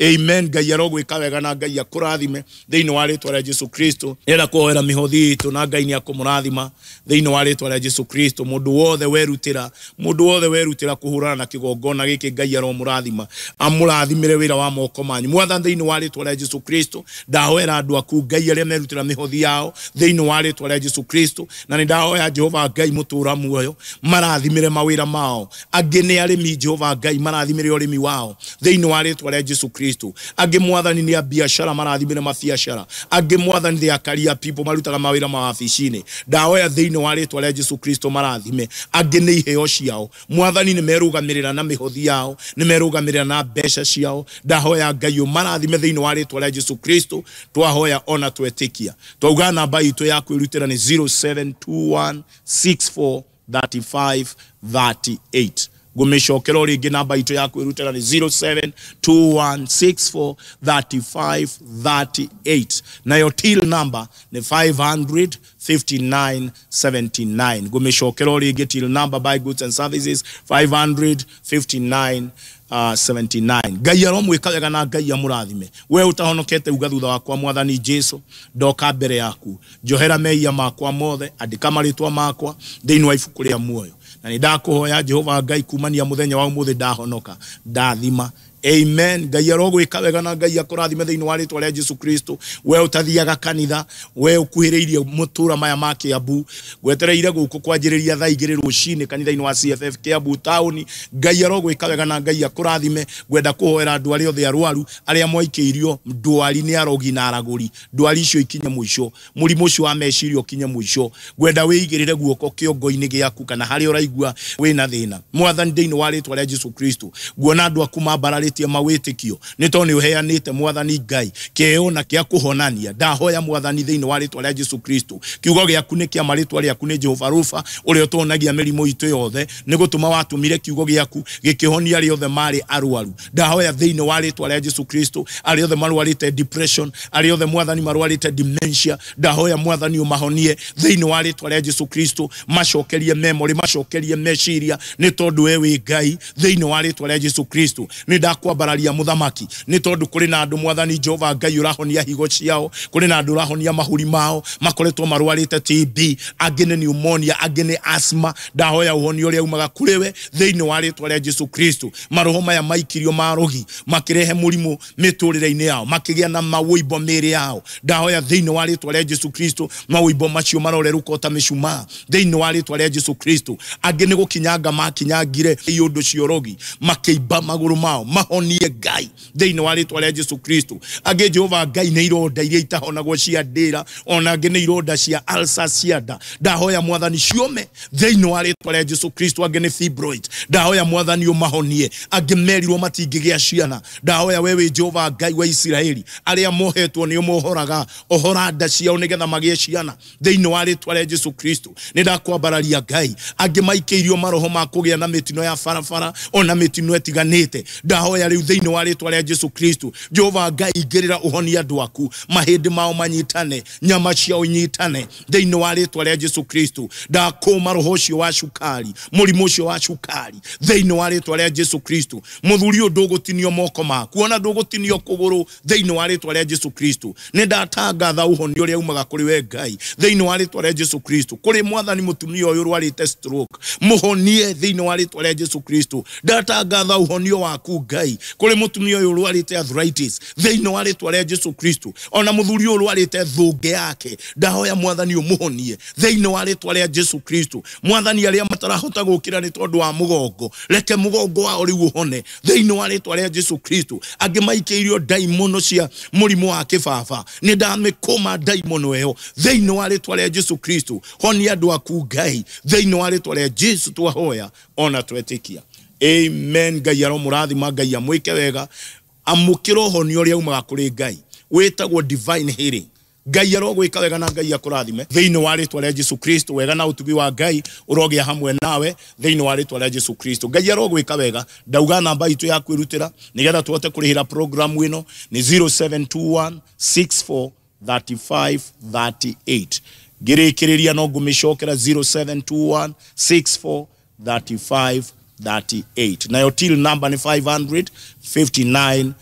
Amen. Ngai arogwĩka wega na Ngai akũrathime thĩinĩ wa rĩtwa rĩa Jesu Kristo. Nĩenda kũhoera mĩhothi itũ na Ngai nĩ akũmũrathima thĩinĩ wa rĩtwa rĩa Jesu Kristo. Mũndũ wothe werutĩra, mũndũ wothe werutĩra kũhũrana na kĩgongona gĩkĩ, Ngai aromũrathima, amũrathimĩre wĩra wa moko manyu. Mwathani, thĩinĩ wa rĩtwa rĩa Jesu Kristo, ndahoera andũ aku Ngai arĩa merutĩra mĩhothi yao thĩinĩ wa rĩtwa rĩa Jesu Kristo, na nĩ ndahoya Jehova Ngai mũtũra muoyo marathimĩre mawĩra mao. Angĩ nĩ arĩmi, Jehova Ngai marathimĩre ũrĩmi wao thĩinĩ wa rĩtwa rĩa Jesu Kristo. Angĩ Mwathani nĩ a biacara, marathimĩre mabiacara. Angĩ Mwathani they are career people, marutaga mawĩra mawabici-inĩ. Ndahoya thĩinĩ wa rĩtwa rĩa Jesu Kristo marathime. Angĩ nĩ iheo ciao, Mwathani, nĩ merũgamĩrĩra na mĩhothi yao, nĩ merũgamĩrĩra na mbeca ciao. Ndahoya Ngai ũmarathime thĩinĩ wa rĩtwa rĩa Jesu Kristo. Twahoya ona twetĩkia. Twauga namba itũ ya kwĩrutĩra nĩ 0721 64 35 38. Ngũmĩcokera o rĩngĩ, namba itũ ya kwĩrutĩra nĩ 0721 64 35 38, nayo till number nĩ 559 79. Ngũmĩcokera o rĩngĩ, till number buy goods and services 559 79. Ngai aromwĩka wega na Ngai amũrathime. We ũtahonokete, uga thutha wakwa, "Mwathani Jesu, ndoka mbere yaku, njohera mehia makwa mothe, andĩka marĩtwa makwa thĩinĩ wa ibuku rĩa muoyo, na nĩ ndakũhoya Jehova Ngai, kumania mũthenya wa ũmũthĩ ndahonoka, ndathima." Amen. Ngai arogwĩka wega na Ngai akũrathime thĩinĩ wa rĩtwa rĩa Jesu Kristo. We ũtathiaga kanitha, we ũkuhĩrĩirie mũtũra maya ma Kiambu, ngwetereire gũkũ kwanjĩrĩria thaa 2 rũcinĩ kanitha-inĩ wa CFF Kiambu taũni. Ngai arogwĩka wega na Ngai akũrathime. Ngwenda kũhoera andũ arĩa othe arwaru, arĩa mwaikĩirio ndwari nĩ arogi na aragũri, ndwari icio ikinye mũico, mũrimũ ũcio wa meciria ũkinye mũico. Ngwenda wĩigĩrĩre guoko kĩongo-inĩ gĩaku kana harĩa ũraigua wĩna thĩna. Mwathani, thĩinĩ wa rĩtwa rĩa Jesu Kristo, nguona andũ aku mambararĩtie mawĩtĩkio nĩ tondũ nĩ ũheanĩte, Mwathani Ngai, kĩheo na kĩa kũhonania. Ndahoya, Mwathani, thĩinĩ wa rĩtwa rĩa Jesu Kristo, kiugo gĩaku nĩ kĩa marĩtwa rĩaku nĩ Jehova Rufa, ũrĩa ũtũhonagia mĩrimũ itũ yothe. Nĩ gũtũma watũmire kiugo gĩaku gĩkĩhonia arĩa othe marĩ arwaru. Ndahoya thĩinĩ wa rĩtwa rĩa Jesu Kristo, arĩa othe marwarĩte depression, arĩa othe, Mwathani, marwarĩte dementia, ndahoya, Mwathani, ũmahonie thĩinĩ wa rĩtwa rĩa Jesu Kristo, macokerie memory, macokerie meciria, nĩ tondũ we wĩ Ngai. Thĩinĩ wa rĩtwa rĩa Jesu Kristo, nĩ ndakwambararia mũthamaki, nĩ tondũ kũrĩ na andũ, Mwathani Jehova Ngai, ũrahonia higo ciao, kũrĩ na andũ ũrahonia mahũri mao makoretwo marwarĩte TB, angĩ nĩ pneumonia, angĩ nĩ asthma. Ndahoya ũhonio ũrĩa umaga kũrĩ we thĩinĩ wa rĩtwa rĩa Jesu Kristo. Maroho maya maikirio marogi makĩrehe mũrimũ mĩtũrĩre-inĩ yao, makĩgĩa na mawũimbo mĩĩrĩ yao, ndahoya thĩinĩ wa rĩtwa rĩa Jesu Kristo, mawũimbo macio marorerũka ta mĩcumaa thĩinĩ wa rĩtwa rĩa Jesu Kristo. Angĩ nĩ gũkinyanga makinyangire iũndũ ciorogi makĩimba magũrũ mao, mahonie Ngai thĩinĩ wa rĩtwa rĩa Jesu Kristo. Angĩ, Jehova Ngai, nĩ ironda iria itahonagwo cia ndĩra, ona angĩ nĩ ironda cia ulcer cia nda. Ndahoya, Mwathani, ciome thĩinĩ wa rĩtwa rĩa Jesu Kristo. Angĩ nĩ fibroid, ndahoya, Mwathani, ũmahonie. Angĩ merirwo matingĩgĩa ciana, ndahoya we wĩ Jehova Ngai wa Isiraeli, arĩa mohetwo nĩ ũmohoraga, ohora nda ciao nĩgetha magĩe ciana thĩinĩ wa rĩtwa rĩa Jesu Kristo. Nĩ ndakwambararia Ngai. Angĩ maikĩirio maroho ma kũgĩa na mĩtino ya barabara ona mĩtino ĩtiganĩte, ndahoya rĩu thĩinĩ wa rĩtwa rĩa Jesu Kristo, Jehova Ngai, ingĩrĩra ũhonie andũ aku, mahĩndĩ mao manyitane, nyama ciao inyitane thĩinĩ wa rĩtwa rĩa Jesu Kristo. Ndakũma roho ũcio wa cukari, mũrimũ ũcio wa cukari thĩinĩ wa rĩtwa rĩa Jesu Kristo. Mũthuri ũyũ, ndũgũtinio moko maku ona ndũgũtinio kũgũrũ thĩinĩ wa rĩtwa rĩa Jesu Kristo. Nĩ ndatangatha ũhonio ũrĩa umaga kũrĩ we Ngai thĩinĩ wa rĩtwa rĩa Jesu Kristo. Kũrĩ, Mwathani, mũtumia ũyũ ũrwarĩte stroke, mũhonie thĩinĩ wa rĩtwa rĩa Jesu Kristo. Ndatangatha ũhonio waku Ngai kũrĩ mũtumia ũyũ ũrwarĩte arthritis thĩinĩ wa rĩtwa rĩa Jesu Kristo. Ona mũthuri ũyũ ũrwarĩte thũngĩ yake, ndahoya, Mwathani, ũmũhonie thĩinĩ wa rĩtwa rĩa Jesu Kristo. Mwathani, arĩa matarahota gũkĩra nĩ tondũ wa mũgongo, reke mũgongo wao rĩu ũhone thĩinĩ wa rĩtwa rĩa Jesu Kristo. Angĩ maikĩirio ndaimono cia mũrimũ wa kĩbaba, nĩ ndamĩkũma ndaimono ĩyo thĩinĩ wa rĩtwa rĩa Jesu Kristo. Honia andũ aku Ngai thĩinĩ wa rĩtwa rĩa Jesu. Twahoya ona twetĩkia. Amen. Ngai aromũrathima, Ngai amwĩke wega. Amũkĩra ũhonio ũrĩa umaga kũrĩ Ngai wĩtagwo divine healing. Ngai arogwĩka wega na Ngai akũrathime thĩinĩ wa rĩtwa rĩa Jesu Kristo. Wega na ũtugi wa Ngai ũrogĩa hamwe nawe thĩinĩ wa rĩtwa rĩa Jesu Kristo. Ngai arogwĩka wega. Ndauga namba itũ ya kwĩrutĩra nĩgetha tũhote kũrĩhĩra programu ĩno nĩ 0721 64 35 38. Ngĩrĩkĩrĩria no ngũmĩcokera, 0721 64 35 38, nayo till number nĩ 559 79.